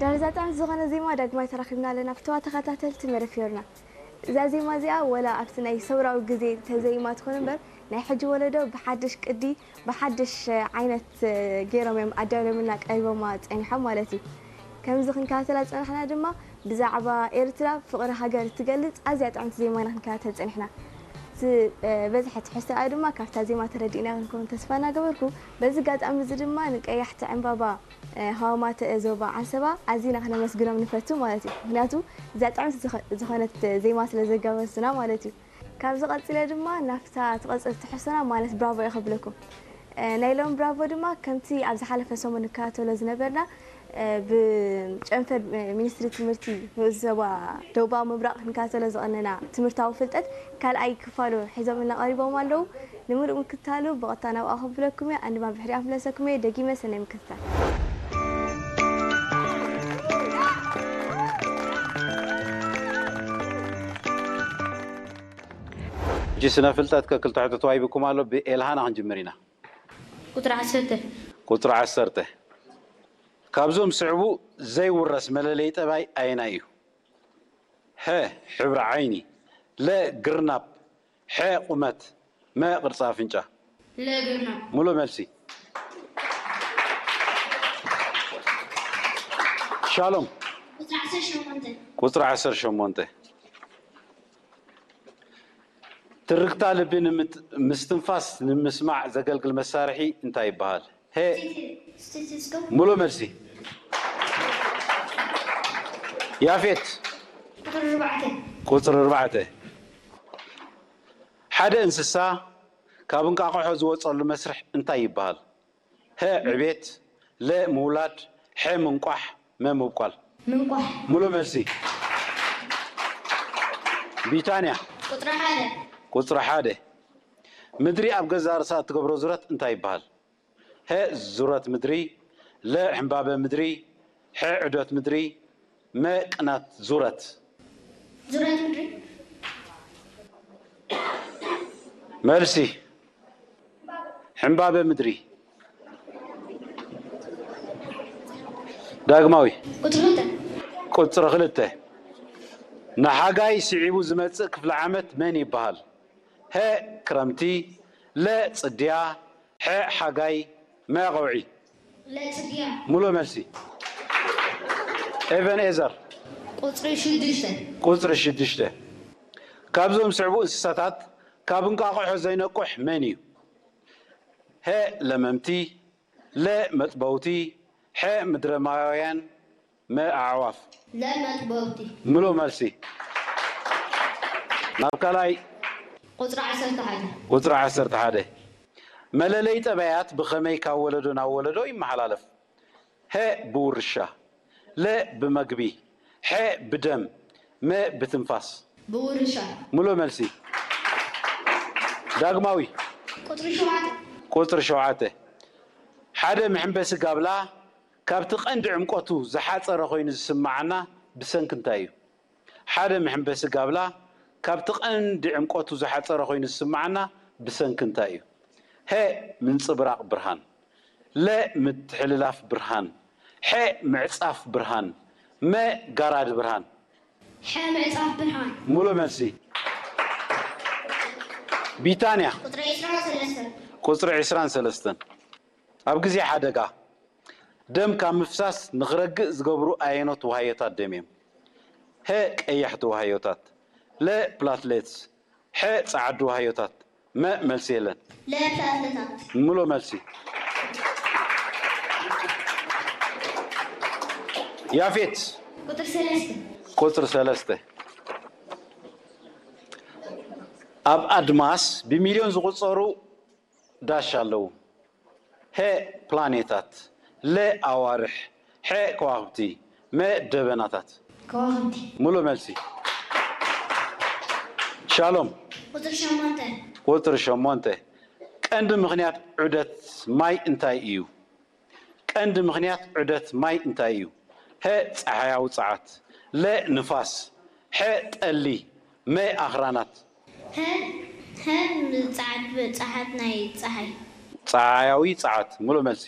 ድሕሪ እዛ ጥዕምቲ ዝኾነ ዜማ ዳግማይ ተራኺብና ኣለና። ፍተዋ ተኸታተልቲ መደብ ፊዮርና። እዛ ዜማ እዚኣ ወላ ኣብቲ ናይ ሰውራዊ ግዜ ተዘይማ ትኾን እምበር፣ ናይ ሕጂ ወለዶ ብሓድሽ ቅዲ፣ ብሓድሽ ዓይነት ገይሮም እዮም ኣዳልዮምልና ቀሪቦማ ጸኒሖም ማለት እዩ። ከምዚ ክንከታተላ ዝጸናሕና ድማ ብዛዕባ ኤርትራ ፍቕሪ ሃገር እትገልጽ ኣዝያ ጥዕምቲ ዜማ ኢና ክንከታተል ጸኒሕና። እቲ በዝሒ ትሕዝቶኣ ድማ ካብታ ዜማ ተረዲእና ክንከውን ተስፋ እናገበርኩ፣ በዚ ኣጋጣሚ እዚ ድማ ንቀያሕቲ ዕምባባ ሃዋማተ ዞባ ዓንሰባ ኣዚና ክነመስግኖም ንፈቱ ማለት እዩ። ምክንያቱ እዚኣ ጥዕምቲ ዝኾነት ዜማ ስለ ዘጋበሱና ማለት እዩ። ካብዚ ቀጺለ ድማ ናብታ ትቐጽል ትሕዝቶና ማለት ብራቮ እየ ከብለኩም። ናይ ሎም ብራቮ ድማ ከምቲ ኣብ ዝሓለፈ ሰሙን ንከታተሎ ዝነበርና ብጨንፈር ሚኒስትሪ ትምህርቲ ንኡስ ዞባ ደቡባዊ ምብራቕ ክንከታተሎ ዝቐነና ትምህርታዊ ፍልጠት ካልኣይ ክፋሉ ሒዞምልና ቀሪቦም ኣለዉ። ንምሉእ ምክትታሉ ብቐጥታ ናብኣ ከብለኩም እየ። ኣንድማ ብድሕሪኣ ክምለሰኩም እየ። ደጊመ ሰናይ ምክትታል። ሕጂ ስነ ፍልጠት ከክልተ ሕቶ ተዋሂብኩም ኣሎ። ብኤልሃና ክንጅምር ኢና። ቁፅሪ ዓሰርተ። ቁፅሪ ዓሰርተ። ካብዞም ዝስዕቡ ዘይውረስ መለለዪ ጠባይ ኣየናይ እዩ? ሀ፣ ሕብሪ ዓይኒ፣ ለ፣ ግርናብ፣ ሐ፣ ቁመት፣ መ፣ ቅርፂ ኣፍንጫ። ለ፣ ግርናብ። ሙሉእ መልሲ። ሻሎም። ቁፅሪ ዓሰርተ ሸሞንተ። ቁፅሪ ዓሰርተ ሸሞንተ። ትርግታ ልቢ ንምት- ምስትንፋስ ንምስማዕ ዘገልግል መሳርሒ እንታይ ይበሃል? ሀ። ስቴቴስኮፕ። ሙሉእ መልሲ። ያፌት። ቁፅሪ ኣርባዕተ። ቁፅሪ ኣርባዕተ። ሓደ እንስሳ ካብ እንቃቕሖ ዝወፀሉ መስርሕ እንታይ ይበሃል? ሀ። ዕቤት፣ ለ። ምውላድ፣ ሐ። ምንቋሕ፣ መ። ምብቋል። ምንቋሕ። ሙሉእ መልሲ። ቢታንያ። ቁፅሪ ሓደ። ቁፅሪ ሓደ። ምድሪ ኣብ ገዛእ ርእሳ እትገብሮ ዙረት እንታይ ይበሃል? ሀ። ዙረት ምድሪ፣ ለ። ሕምባበ ምድሪ፣ ሐ። ዑደት ምድሪ፣ መ። ቅናት ዙረት። ዙረት ምድሪ። መልሲ። ሕምባበ ምድሪ። ዳግማዊ። ቁፅሪ ክልተ። ቁፅሪ ክልተ። ንሓጋይ ስዒቡ ዝመፅእ ክፍለ ዓመት መን ይበሃል? ሀ። ክረምቲ፣ ለ። ፅድያ፣ ሐ። ሓጋይ፣ መ። ቀውዒ። ለፅድያ። ሙሉእ መልሲ። ኤቨን ኤዘር። ቁፅሪ ሽዱሽተ። ቁፅሪ ሽዱሽተ። ካብዞም ዝስዕቡ እንስሳታት ካብ እንቋቑሖ ዘይነቁሕ መን እዩ? ሀ። ለመምቲ፣ ለ። መጥበውቲ፣ ሐ። ምድረማውያን፣ መ። ኣዕዋፍ። ለመጥበውቲ። ሙሉእ መልሲ። ናብ ካልኣይ። ቁፅሪ ዓሰርተ ሓደ። ቁፅሪ ዓሰርተ ሓደ። መለለይ ጠባያት ብኸመይ ካብ ወለዶ ናብ ወለዶ ይመሓላለፍ? ሀ። ብውርሻ፣ ለ። ብመግቢ፣ ሐ። ብደም፣ መ። ብትንፋስ። ብውርሻ። ሙሉእ መልሲ። ዳግማዊ። ቁፅሪ ሸውዓተ። ቁፅሪ ሸውዓተ። ሓደ መሐንበሲ ጋብላ ካብቲ ቀንዲ ዕምቆቱ ዝሓፀረ ኮይኑ ዝስምዓና ብሰንኪ እንታይ እዩ? ሓደ መሐንበሲ ጋብላ ካብቲ ቀንዲ ዕምቆቱ ዝሓፀረ ኮይኑ ዝስምዓና ብሰንኪ እንታይ እዩ? ሀ። ምንፅብራቕ ብርሃን፣ ለ። ምትሕልላፍ ብርሃን፣ ሐ። ምዕፃፍ ብርሃን፣ መ። ጋራድ ብርሃን። ሐ። ምዕፃፍ ብርሃን። ሙሉእ መልሲ። ቢታንያ። ቁፅሪ ዕስራን ሰለስተን። ቁፅሪ ዕስራን ሰለስተን። ኣብ ግዜ ሓደጋ ደም ካብ ምፍሳስ ንኽረግእ ዝገብሩ ኣየኖት ዋህዮታት ደም እዮም? ሀ። ቀያሕቲ ዋህዮታት፣ ለ። ፕላትሌትስ፣ ሐ። ጸዓዱ ዋህዮታት፣ መ። መልሲ የለን። ለ። ፕላትሌታት። ሙሉእ መልሲ። ያፌት። ቁፅሪ ሰለስተ። ቁፅሪ ሰለስተ። ኣብ ኣድማስ ብሚልዮን ዝቑጸሩ ዳሽ ኣለዉ። ሀ። ፕላኔታት፣ ለ። ኣዋርሕ፣ ሐ። ከዋኽብቲ፣ መ። ደበናታት። ከዋኽብቲ። ሙሉእ መልሲ። ሻሎም። ቁፅሪ ሸሞንተ። ቁፅሪ ሸሞንተ። ቀንዲ ምኽንያት ዑደት ማይ እንታይ እዩ? ቀንዲ ምኽንያት ዑደት ማይ እንታይ እዩ? ሀ። ጸሓያዊ ጸዓት፣ ለ። ንፋስ፣ ሐ። ጠሊ፣ መ። ኣኽራናት። ሀ። ሀ። ጸዓት ጸዓት ናይ ጸሓይ። ጸሓያዊ ጸዓት። ሙሉእ መልሲ።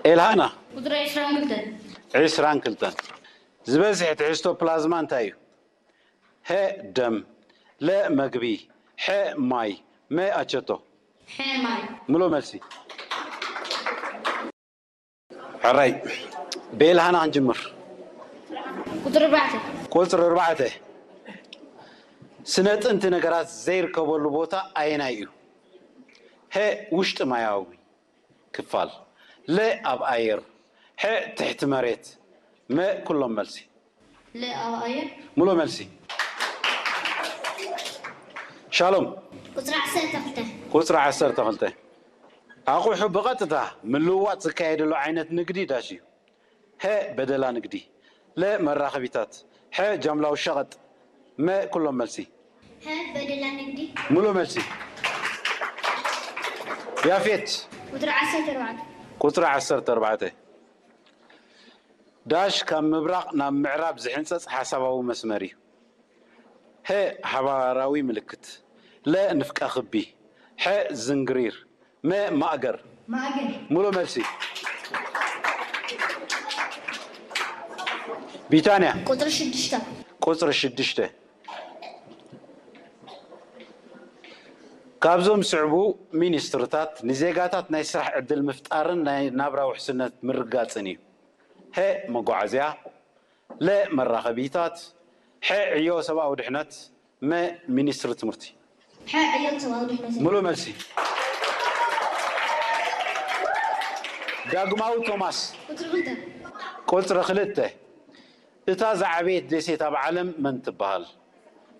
ኤልሃና። ቁፅሪ ዕስራን ክልተን። ዕስራን ክልተን። ዝበዝሕ ትሕዝቶ ፕላዝማ እንታይ እዩ? ሀ ደም፣ ለ መግቢ፣ ሐ ማይ፣ መ ኣቸቶ። ሐ ማይ። ምሎ መልሲ። ሕራይ፣ ብኤልሃና ክንጅምር። ቁፅሪ ኣርባዕተ። ቁፅሪ ኣርባዕተ። ስነ ጥንቲ ነገራት ዘይርከበሉ ቦታ ኣየናይ እዩ? ሀ ውሽጢ ማያዊ ክፋል፣ ለ ኣብ ኣየር፣ ሐ ትሕቲ መሬት፣ መ ኩሎም መልሲ። ለ ኣብ ኣየር። ሙሉ መልሲ። ሻሎም። ቁፅሪ ዓሰርተ ክልተ። ቁፅሪ ዓሰርተ ክልተ። ኣቑሑ ብቐጥታ ምልውዋጥ ዝካየደሉ ዓይነት ንግዲ ዳሽ እዩ። ሀ በደላ ንግዲ፣ ለ መራኸቢታት፣ ሐ ጃምላዊ ሸቐጥ፣ መ ኩሎም መልሲ። ሀ በደላ ንግዲ። ሙሉ መልሲ። ያፌት። ቁፅሪ ዓሰርተ ኣርባዕተ። ቁፅሪ ዓሰርተ ኣርባዕተ። ዳሽ ካብ ምብራቕ ናብ ምዕራብ ዝሕንፀፅ ሓሳባዊ መስመር እዩ። ሀ ሓባራዊ ምልክት፣ ለ ንፍቀ ክቢ፣ ሐ ዝንግሪር፣ መ ማእገር። ማእገር። ሙሉ መልሲ። ቢታንያ። ቁፅሪ ሽዱሽተ። ቁፅሪ ሽዱሽተ። ካብዞም ስዕቡ ሚኒስትርታት ንዜጋታት ናይ ስራሕ ዕድል ምፍጣርን ናይ ናብራ ውሕስነት ምርጋፅን እዩ። ሀ መጓዓዝያ፣ ለ መራኸቢታት፣ ሐ ዕዮ ሰብኣዊ ድሕነት፣ መ ሚኒስትሪ ትምህርቲ። ሐ ዕዮ ሰብኣዊ ድሕነት። ሙሉ መልሲ። ዳግማዊ ቶማስ። ቁፅሪ ክልተ። ቁፅሪ ክልተ። እታ ዝዓበየት ደሴት ኣብ ዓለም መን ትበሃል?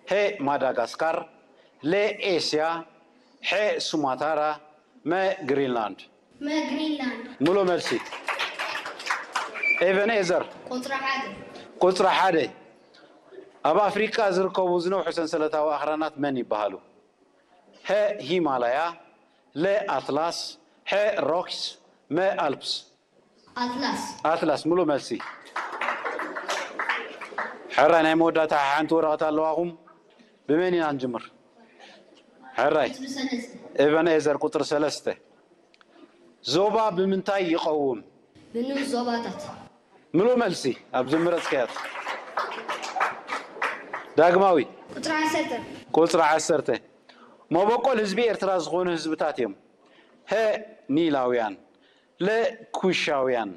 ሀ ማዳጋስካር፣ ለ ኤስያ፣ ሐ ሱማታራ፣ መ ግሪንላንድ። መ ግሪንላንድ። ሙሉ መልሲ። ኤቨን ኤዘር። ቁፅሪ ሓደ። ቁፅሪ ሓደ። ኣብ ኣፍሪቃ ዝርከቡ ዝነውሑ ሰንሰለታዊ ኣኽራናት መን ይበሃሉ? ሀ ሂማላያ፣ ለ ኣትላስ፣ ሐ ሮክስ፣ መ ኣልፕስ። ኣትላስ። ኣትላስ። ሙሉ መልሲ። ሕራይ፣ ናይ መወዳእታ ሓንቲ ወረቐት ኣለዋኹም። ብመን ኢና ንጅምር? ሕራይ። ቁፅሪ ሰለስተ። ኤቨን ኤዘር ቁፅሪ ሰለስተ። ዞባ ብምንታይ ይቐውም? ብንኡስ ዞባታት። ምሉእ መልሲ ኣብ ዝመረጽካያት። ዳግማዊ። ቁጽሪ ዓሰርተ። ቁጽሪ ዓሰርተ። መበቆል ህዝቢ ኤርትራ ዝኾኑ ህዝብታት እዮም። ሀ ኒላውያን፣ ለ ኩሻውያን፣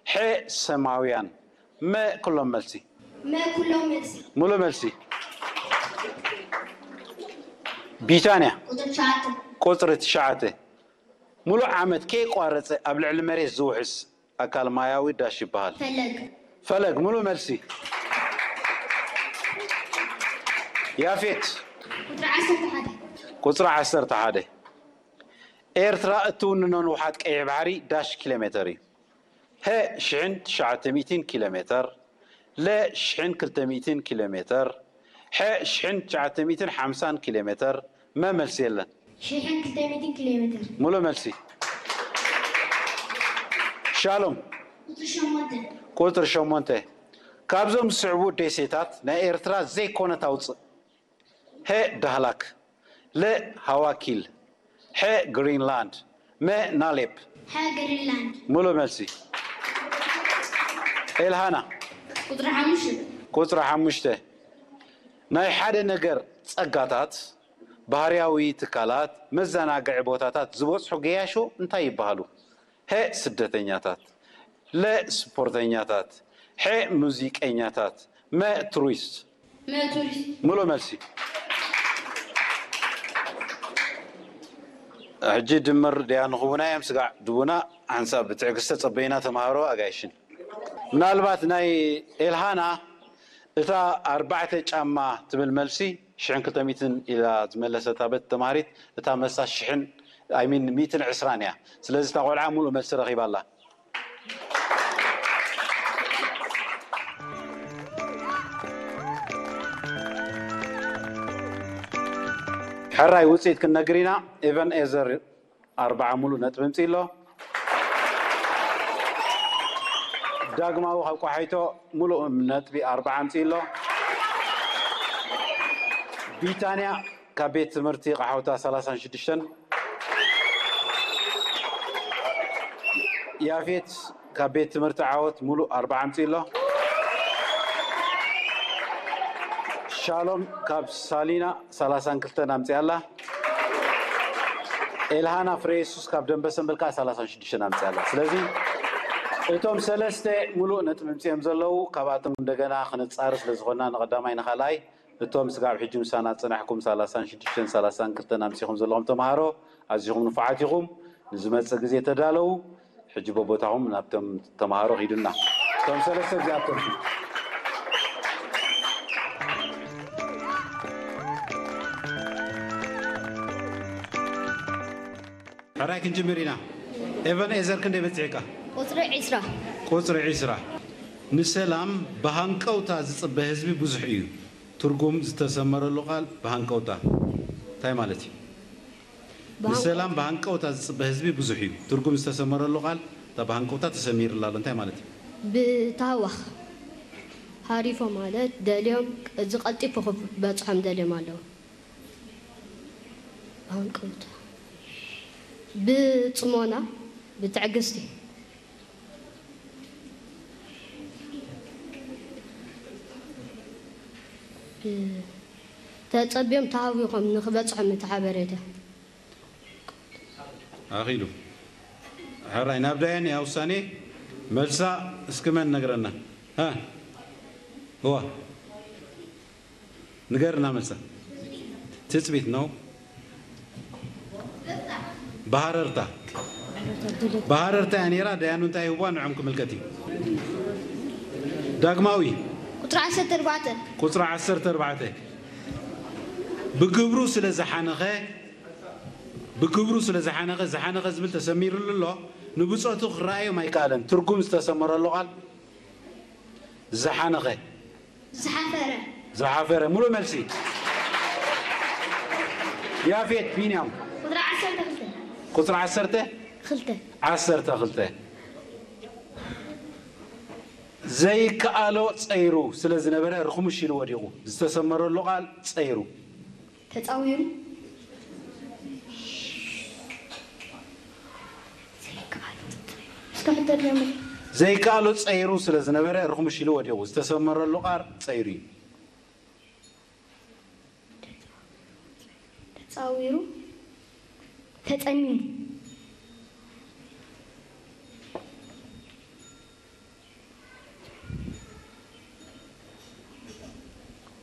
ሐ ሰማውያን፣ መ ኩሎም መልሲ። መ ኩሎም መልሲ። ምሉእ መልሲ። ቢታንያ። ቁጽሪ ትሽዓተ። ቁጽሪ ትሽዓተ። ምሉእ ዓመት ከየቋረጸ ኣብ ልዕሊ መሬት ዝውሕዝ ኣካል ማያዊ ዳሽ ይበሃል። ፈለግ። ፈለግ፣ ምሉእ መልሲ። ያፌት። ቁጽሪ ዓሰርተ ሓደ። ቁጽሪ ዓሰርተ ሓደ። ኤርትራ እትውንኖ ንውሓት ቀይሕ ባሕሪ ዳሽ ኪሎ ሜተር እዩ። ሀ ሽሕን ትሽዓተ ሚእትን ኪሎ ሜተር፣ ለ ሽሕን ክልተ ሚእትን ኪሎ ሜተር፣ ሐ ሽሕን ትሽዓተ ሚእትን ሓምሳን ኪሎ ሜተር፣ መ መልሲ የለን። ሽሕን ክልተ ሚእትን ኪሎ ሜተር። ሙሉእ መልሲ። ሻሎም። ቁጽሪ ሸሞንተ። ቁጽሪ ሸሞንተ። ካብዞም ዝስዕቡ ደሴታት ናይ ኤርትራ ዘይኮነት ኣውጽእ። ሀ ዳህላክ፣ ለ ሃዋኪል፣ ሐ ግሪንላንድ፣ መ ናሌፕ። ሐ ግሪንላንድ። ሙሉእ መልሲ። ኤልሃና። ቁጽሪ ሓሙሽተ። ቁጽሪ ሓሙሽተ። ናይ ሓደ ነገር ጸጋታት፣ ባህርያዊ ትካላት፣ መዘናግዒ ቦታታት ዝበጽሑ ገያሾ እንታይ ይበሃሉ? ሐ ስደተኛታት፣ ለ ስፖርተኛታት፣ ሐ ሙዚቀኛታት፣ መ ቱሪስት። መ ቱሪስት። ሙሉእ መልሲ። ሕጂ ድምር ድያ ንኽቡና እዮም ስጋዕ ድቡና ሓንሳብ ብትዕግስቲ ጸበይና ተማሃሮ ኣጋይሽን። ምናልባት ናይ ኤልሃና እታ ኣርባዕተ ጫማ ትብል መልሲ ሽሕን ክልተ ሚእትን ኢላ ዝመለሰታ በት ተማሃሪት እታ መልሳ ሽሕን፣ I mean፣ ሚእትን ዕስራን እያ። ስለዚ እታ ቆልዓ ሙሉእ መልሲ ረኺባ ኣላ። ሕራይ ውፅኢት ክንነግር ኢና። ኤቨን ኤዘር ኣርባዓ ሙሉእ ነጥቢ ኣምፂኡ ኣሎ። ዳግማዊ ካብ ቆሓይቶ ሙሉእ ነጥቢ ኣርባዓ ኣምፂኡ ኣሎ። ቢታንያ ካብ ቤት ትምህርቲ ቃሓውታ ሰላሳን ሽዱሽተን። ያፌት ካብ ቤት ትምህርቲ ዓወት ሙሉእ ኣርባዓ ኣምፂኡ ኣሎ። ሻሎም ካብ ሳሊና ሰላሳን ክልተን ኣምፂኣ ኣላ። ኤልሃና ፍሬ የሱስ ካብ ደንበ ሰንበል ከዓ ሰላሳን ሽዱሽተን ኣምፂኣ ኣላ። ስለዚ እቶም ሰለስተ ሙሉእ ነጥቢ ኣምፂኦም ዘለዉ፣ ካብኣቶም እንደገና ክንፃር ስለዝኾንና ንቐዳማይ ንኻልኣይ እቶም ስጋብ ሕጂ ምሳና ዝጸናሕኩም ሰላሳን ሽዱሽተን ሰላሳን ክልተን ኣምጺኹም ዘለኹም ተምሃሮ ኣዚኹም ንፉዓት ኢኹም። ንዝመጽእ ግዜ ተዳለዉ። ሕጂ በቦታኹም ናብቶም ተምሃሮ ኺዱና። እቶም ሰለስተ እዚኣቶም ሕራይ ክንጅምር ኢና። ኤቨን ኤዘር ክንደይ በጺሕካ? ቁጽሪ ዒስራ። ቁጽሪ ዒስራ። ንሰላም ብሃንቀውታ ዝጽበ ህዝቢ ብዙሕ እዩ። ትርጉም ዝተሰመረሉ ቃል ብሃንቀውታ እንታይ ማለት እዩ? ብሃንቀውታ። ንሰላም ብሃንቀውታ ዝጽበ ህዝቢ ብዙሕ እዩ። ትርጉም ዝተሰመረሉ ቃል እታ ብሃንቀውታ ተሰሚርላ ኣሎ እንታይ ማለት እዩ? ብታህዋኽ ሃሪፎም ማለት ደልዮም፣ እዚ ቀልጢፉ ክበጽሖም ደልዮም ኣለዉ። ብሃንቀውታ። ብጽሞና፣ ብትዕግስቲ። ተጸብዮም ተሃዊኾም ንኽበጽሖም እቲ ሓበሬታ። ኣኺሉ። ሕራይ፣ ናብ ዳያን እያ ውሳኔ። መልሳ እስኪ መን ነግረና? ሃ? እዋ። ንገርና መልሳ። ትጽቢት ነው። ብሃረርታ። ብሃረርታ እያ ነይራ። ዳያኑ እንታይ ይህዋ ንዖም ክምልከት እዩ። ዳግማዊ። ቁጽሪ ዓሰርተ ኣርባዕተ። ቁጽሪ ዓሰርተ ኣርባዕተ። ብግብሩ ስለ ዝሓነኸ፣ ብግብሩ ስለ ዝሓነኸ፣ ዝሓነኸ ዝብል ተሰሚሩሉ ኣሎ። ንብጾቱ ክረኣዮም ኣይከኣለን። ትርጉም ዝተሰመረሉ ቃል ዝሓነኸ። ዝሓፈረ። ዝሓፈረ። ሙሉእ መልሲ። ያፌት ቢንያም። ቁጽሪ ዓሰርተ ክልተ። ቁጽሪ ዓሰርተ? ክልተ። ዓሰርተ ክልተ። ዘይከኣሎ ጸይሩ ስለ ዝነበረ ርኽሙሽ ኢሉ ወዲቑ። ዝተሰመረሉ ቃል ጸይሩ። ተጻዊሩ። እስከ ሕቶ ድገምልኝ። ዘይከኣሎ ጸይሩ ስለ ዝነበረ ርኽሙሽ ኢሉ ወዲቑ። ዝተሰመረሉ ቃል ጸይሩ እዩ። ተጻዊሩ። ተጸሚሙ።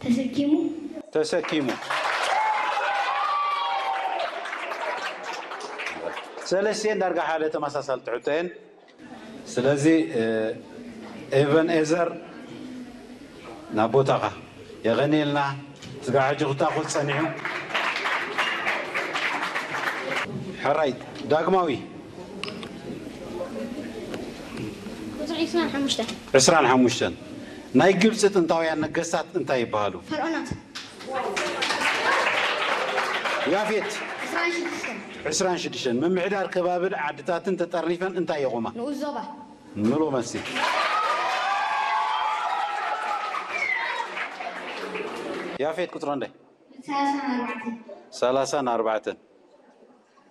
ተሰኪሙ። ተሰኪሙ። ሰለስቲኤን ዳርጋ ሓደ ተመሳሳልቲ ሕቶ እየን። ስለዚ፣ እ፣ ኤቨን ኤዘር ናብ ቦታኻ። የቐንየልና። ስጋብ ሕጂ ክታኹት ጸኒሑ። ሕራይ ዳግማዊ። ቁጽሪ ዕስራን ሓሙሽተን። ዕስራን ሓሙሽተን። ናይ ግብጺ ጥንታውያን ነገስታት እንታይ ይበሃሉ? ፈርዖናት። ያፌት። ዕስራን ሽዱሽተን። ዕስራን ሽዱሽተን። ምምሕዳር ከባብን ዓድታትን ተጠርኒፈን እንታይ የቑማ? ንኡስ ዞባ። ምሉእ መልሲ። ያፌት ቁጽሪ እንደ? ሰላሳን ኣርባዕተን። ሰላሳን ኣርባዕተን።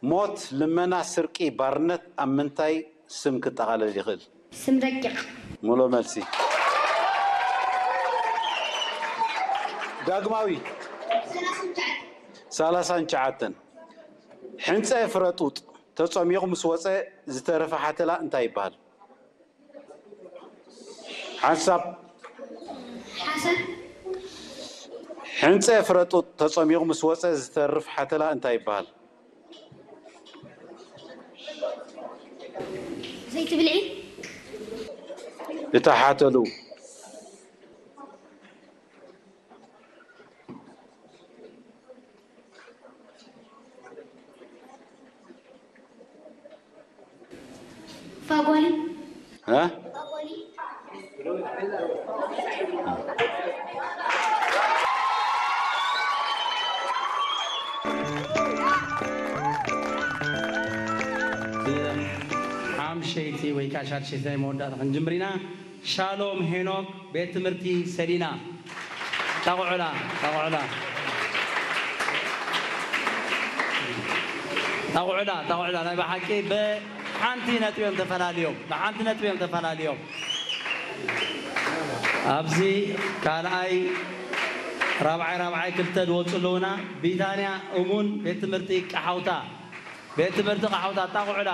ሞት፣ ልመና፣ ስርቂ፣ ባርነት ኣብ ምንታይ ስም ክጠቓለል ይኽእል? ስም ረቂቕ። ምሉእ መልሲ። ዳግማዊ። ሰላሳን ትሽዓተን። ሰላሳን ትሽዓተን። ሕንጸ ፍረ ጡጥ ተጸሚቑ ምስ ወጸ ዝተረፈ ሓተላ እንታይ ይበሃል? ሓንሳብ። ሓሰን። ሕንጸ ፍረ ጡጥ ተጸሚቑ ምስ ወጸ ዝተርፍ ሓተላ እንታይ ይበሃል? ዘይቲ ብልዒ። እታ ሓተሉ። ፋጎሊ። እ? ሓምሸይቲ ወይ ከዓ ሻድሸይቲ ናይ መወዳእታ ክንጅምር ኢና። ሻሎም ሄኖክ፣ ቤት ትምህርቲ ሰሊና። ጣቑዑላ፣ ጣቑዑላ። ጣቑዑላ፣ ጣቑዑላ፣ ናይ ብሓቂ በ-፣ ሓንቲ ነጥቢ እዮም ተፈላልዮም፣ ብሓንቲ ነጥቢ እዮም ተፈላልዮም። ኣብዚ ካልኣይ ራብዓይ ራብዓይ ክልተ ዝወፁ ኣለውና። ቢታንያ እሙን ቤት ትምህርቲ ቀሓውታ፣ ቤት ትምህርቲ ቀሓውታ ኣጣቕዑላ።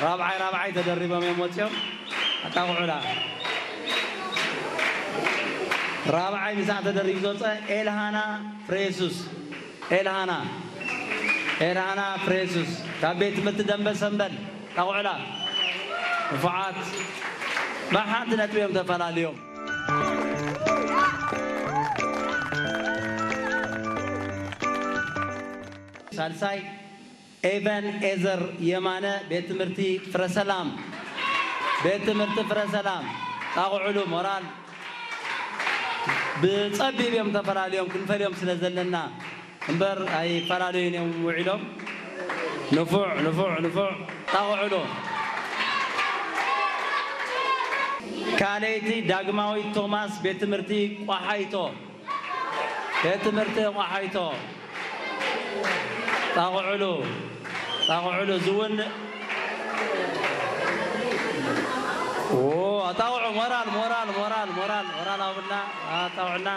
ራብዓይ ራብዓይ ተደሪቦም እዮም ወፂኦም። ኣጣቕዑላ። ራብዓይ ምሳዕ ተደሪቡ ዝወፀ ኤልሃና ፍሬሱስ፣ ኤልሃና ኤልሃና ፍሬሱስ ካብ ቤት ትምህርቲ ደንበ ሰንበል ኣጣቕዑላ። ንፉዓት ብሓንቲ ነጥቢ እዮም ተፈላልዮም። ሳልሳይ ኤቨን ኤዘር የማነ ቤት ትምህርቲ ፍረሰላም፣ ቤት ትምህርቲ ፍረሰላም ጣቕዑሉ። ሞራል ብጸቢብ እዮም ተፈላልዮም፣ ክንፈልዮም ስለ ዘለና እምበር ኣይፈላለዩን እዮም ውዒሎም። ንፉዕ ንፉዕ ንፉዕ ጣቕዑሉ። ካልኣይቲ ዳግማዊት ቶማስ ቤት ትምህርቲ ቋሓይቶ፣ ቤት ትምህርቲ ቋሓይቶ ጣቕዑሉ፣ ጣቕዑሉ። ዝውን ጣቕዑ። ሞራል ሞራል ሞራል ሞራል ሞራል ኣውና ኣጣቕዑና።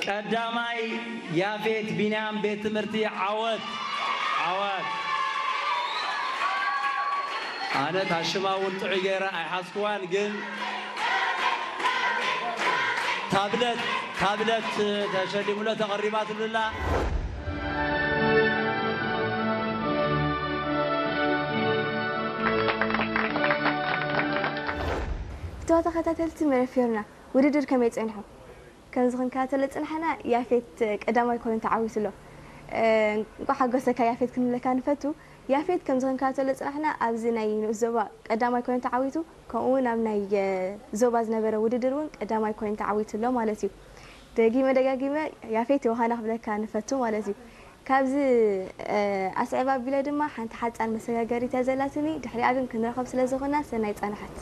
ቀዳማይ ያፌት ቢንያም ቤት ትምህርቲ ዓወት፣ ዓወት። ኣነ ታሽማ እውን ጥዑይ ገይረ ኣይሓዝክዋን፣ ግን ታብለት፣ ታብለት ተሸሊሙሎ ተቐሪባትሉላ። ክተዋ ተኸታተልቲ መረፊዮርና ውድድር ከመይ ጸኒሑ? ከምዚ ክንከታተሎ ዝጽናሕና ያፌት ቀዳማይ ኮይኑ ተዓዊቱ ኣሎ። እንቋዕ ሓጎሰካ ያፌት ክንብለካ ንፈቱ። ያፌት ከምዚ ክንከታተሎ ዝጽናሕና ኣብዚ ናይ ንኡስ ዞባ ቀዳማይ ኮይኑ ተዓዊቱ፣ ከምኡ እውን ኣብ ናይ ዞባ ዝነበረ ውድድር እውን ቀዳማይ ኮይኑ ተዓዊቱ ኣሎ ማለት እዩ። ደጊመ ደጋጊመ ያፌት ዮሃና ክብለካ ንፈቱ ማለት እዩ። ካብዚ ኣስዕብ ኣቢለ ድማ ሓንቲ ሓፃን መሰጋገሪት እያ ዘላትኒ፣ ድሕሪኣ ግን ክንረኸብ ስለ ዝኾና ሰናይ ፃንሓት።